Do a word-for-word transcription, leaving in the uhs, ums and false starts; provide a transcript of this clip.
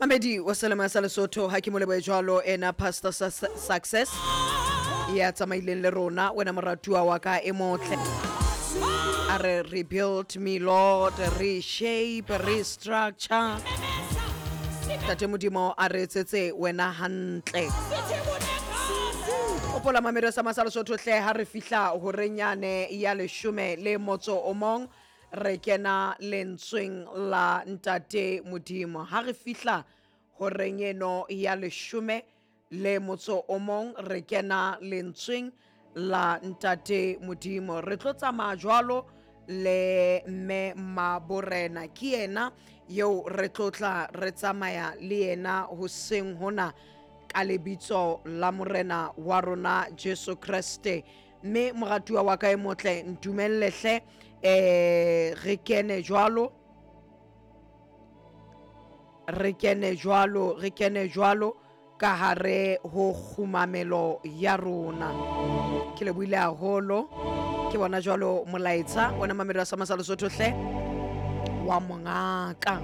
Mamedi wa selema sa Lesotho, ha ke mo lebohe jwalo ena Pastor Success ya tsamaileng le rona, wena moratuwa wa ka e motle. A re rebuild me Lord, reshape, restructure. Tate Modimo a re etsetse wena hantle. Hopola mamedi wa sama sa Lesotho hle, ha re fihla horeng yane ya leshome le motso o mong, re kena lentsweng la Ntate Modimo. Ha re fihla horeng eno ya leshome le motso o mong, re kena lentsweng la Ntate Modimo. Re tlo tsamaya jwalo le mme Maborena, ke yena eo re tlo tla re tsamaya le yena hoseng hona ka lebitso la Morena wa rona Jesu Kreste. Mme moratuwa wa ka e motle, ntumelle hle eh re kene jwalo, re kene jwalo, re kene jwalo ka hare ho kgumamelo ya rona. Ke lebohile haholo, ke bona jwalo molaetsa wena mamedi wa sama sa Lesotho hle wa mongaka.